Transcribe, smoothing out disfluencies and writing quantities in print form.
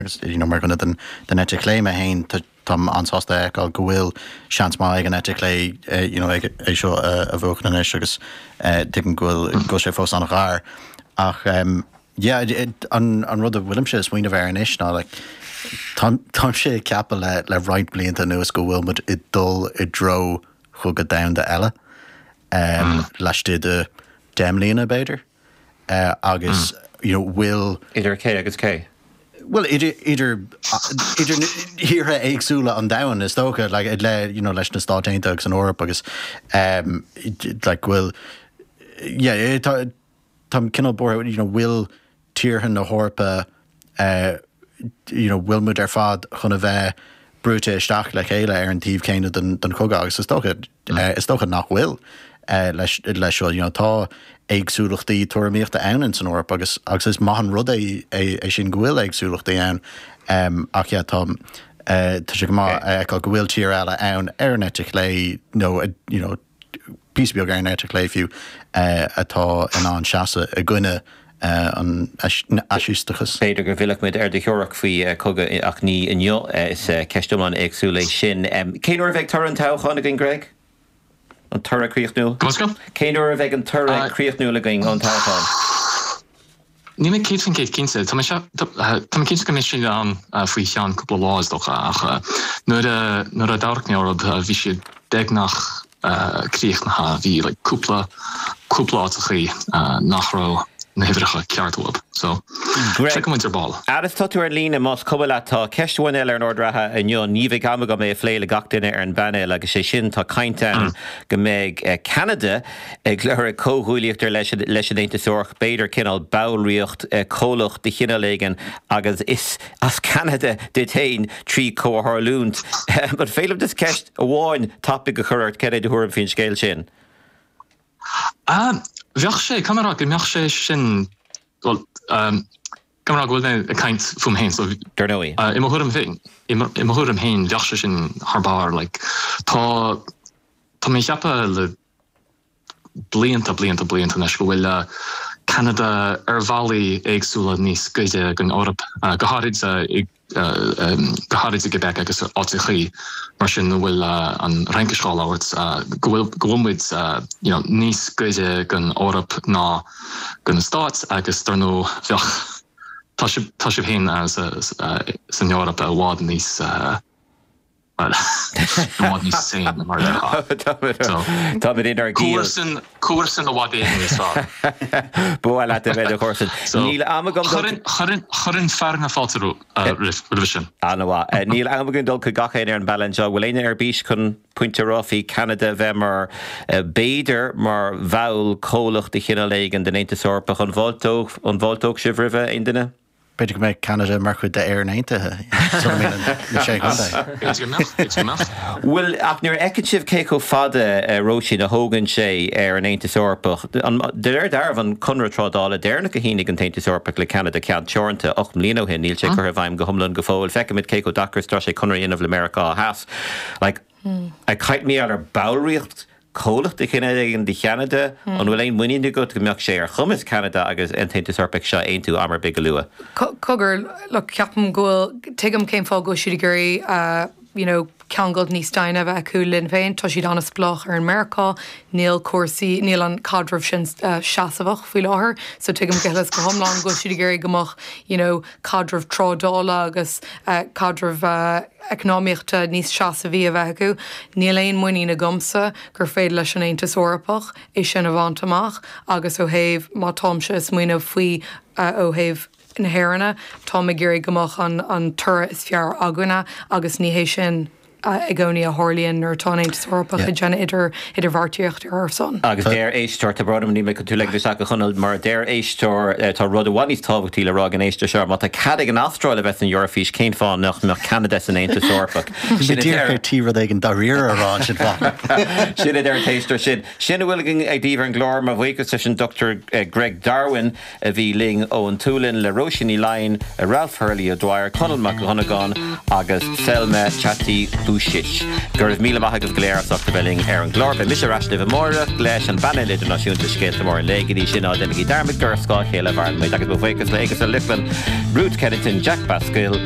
Agus you know mar dhuine den den eite chlé mé féin táim an-sásta a fheiceáil go bhfuil seans maith ag an eite chlé you know ag é seo a bhuachan anois agus tuigim go bhfuil go bhfuil sé fós an-ghar. Ach yeah an an rud a bhfuilimse ag smaoineamh air anois ná like táim táimse ag ceapadh le le roinnt blianta anuas go bhfuil muid ag dul i dtreo chogadh domhanda eile laistigh de 10 mbliana b'fhéidir. agus you know bhfuil. Idir cé agus cé? Bhuel idir idir idir thíortha éagsúla an domhain is dócha like le you know leis na Stáit Aontaithe agus an Eoraip agus um like go bhfuil yeah tá táim cineál buartha you know bhfuil tíortha na hEorpa eh you know bhfuil muid ar fad chun a bheith brúite isteach le chéile ar an taobh céanna den den chogadh agus is dócha Is dócha nach bhfuil leis leis seo. You know tá éagsúlachtaí tuairimíochta ann ins an Eoraip agus agus is maith an rud é é sin go bhfuil éagsúlachtaí ann. Ach yeah tá tá sé go maith a fheiceáil go bhfuil tír eile ann ar an eite chlé nó you know píosa beag ar an eite chlé fiú atá in ann seasamh i gcoinne an fhaisisteachais. B'fhéidir go bhfillfidh muid ar do theoiric faoi chogadh ach ní inniu. Is ceist iomlán éagsúil é sin. Cén uair a bheidh toradh an toghcháin againn, Greg? An toradh críochnúil? Cén uair a bheidh an toradh críochnúil againn ón toghchán? Níl mé 100% cinnte. Tá mé cinnte go mbeidh siad ann faoi cheann cúpla lá is dócha ach nuair a nuair a d'amharc mé orthu bhí siad beagnach críochnaithe. Bhí like cúpla cúpla áiteachaí nach raibh na huimhreacha ceart uathub. So Greg, feicfidh muid ar ball. Fhad is tá tú ar líne, más cuma leat, tá ceist amháin eile ar an ord reatha inniu. Ní bheidh am agam é a phlé le gach duine ar an bpainéal agus sé sin, tá caint ann go mbeidh Ceanada ag lorg comhghuaillíocht ar leis leis an Aontas Eorpach, b'fhéidir cineál ballraíocht, comhlacht de chineál éigin agus is as Ceanada duit féin trí chomhtharlúint. An féidir liom just ceist amháin tapaidh a chur ort, cad é do thuairim faoin scéal sin? Bheadh sé, caithfidh mé a rá go mbeadh sé sin, bhuel, caithfidh mé a rá go bhfuil mé ag caint fúm féin, so Dar ndóigh. i mo thuairim féin, i mo thuairim féin, bheadh sé sin thar barr, like, tá, tá mé ag ceapadh le blianta, blianta, blianta anois go bhfuil Ceanada ar bhealaí éagsúla níos gaire don Eoraip, go háirid i go háirid i gQuebec agus áiteachaí mar sin a bhfuil an Fhraincis á labhairt, go bhfuil go bhfuil muid you know níos gaire don Eoraip ná do na Stáit agus dar ndóigh bheadh tá sibh tá sibh féin san Eoraip i bhfad níos Bhuel, i bhfad níos sane mar a déarfá. Táimid inár gciall. Comharsan, comharsan i bhfad éigin níos fearr. Ba mhaith leat a bheith i do chomharsan. Níl am agam dul. Chuirfinn, chuirfinn, chuirfinn fear na fáilte roimh, roimhe sin. An-mhaith. Níl am againn dul chuig gach éinne ar an bpainéal anseo. Bhfuil éinne ar bís chun pointe a rá faoi Ceanada bheith mar, b'fhéidir, mar bhall comhlach de chineál éigin den Aontas Eorpach? An bhfáilteodh, an bhfáilteodh sibh roimhe, aon duine? B'fhéidir go mbeidh Ceanada mar chuid d'Éirinn Aontaithe sula mbíonn na Sé Chontae. B'fhéidir go mbeadh, b'fhéidir go mbeadh. Bhuel, ach nuair a fheiceann sibh cé chomh fada, Róisín, a thógann sé ar an Aontas Eorpach, de réir dealraimh, an conradh trádála deireanach a shínigh an tAontas Eorpach le Ceanada, ceann teoranta, 8 mbliana ó shin, níl sé curtha i bhfeidhm go hiomlán go fóill. Feicimid cé chomh deacair is atá sé conradh a dhéanamh le Meiriceá Theas. Like, ag caint mar gheall ar ballraíocht comhlacht de chineál éigin de Cheanada, an bhfuil aon muinín agat go mbeadh sé ar chumas Ceanada agus an tAontas Eorpach seo a aontú am ar bith go luath? Cogar, look, ceapaim go bhfuil, tuigim cén fáth go bhfuil siad ag iarraidh you know ceangal níos doimhne a bheith acu linn féin. Tá siad an-spleách ar an Meiriceá, níl cúrsaí, níl an caidreamh sin seasmhach faoi láthair, so tuigim go huile is go hiomlán go bhfuil siad ag iarraidh go mbeadh you know caidreamh trádála agus caidreamh eacnamaíochta níos seasmhaí a bheith acu. Níl aon muinín agamsa gur féidir leis an Aontas Eorpach é sin a bhaint amach agus ó thaobh, má táimse ag smaoineamh faoi ó thaobh na hÉireanna, táim ag iarraidh go mbeadh an an toradh is fearr againne agus ní hé sin i gcónaí a tharlaíonn nuair atá an Aontas Eorpach ag déanamh idir idirbheartaíocht ar ár son. Agus deir éisteoir, tá brón orm níl mé chun tú a ligean isteach a Chonaill, mar a deir éisteoir, tá rud i bhfad níos tábhachtaí le rá ag an éisteoir seo, má tá cead ag an Astráil a bheith san Eoraifís, cén fáth nach mbeadh Ceanada san Aontas Eorpach? Sin a deir. Ar tí rud éigin dáiríre a rá ansin fá. Sin a deir an t-éisteoir sin. Sin a bhfuil againn daoibh ar an gclár. Mo bhuíochas leis an Dr Greg Darwin a bhí linn ón tSualainn, le Róisín Ní Laighin, Ralph Hurley O'Dwyer, Conall Mac Dhonnagáin agus Selma Chatti. Vučić. Go raibh míle maith agaibh go léir as ucht a bheith linn ar an gclár. Beidh mise ar ais libh amáireach leis an bpainéal idirnáisiúnta Scéalta Móra an Lae. Go dtí sin, ná déanaigí dearmad gur ar scáth a chéile a mhaireann muid agus mo bhuíochas le Agus Ó Lochlainn, Ruth Kennington, Jack Basquill.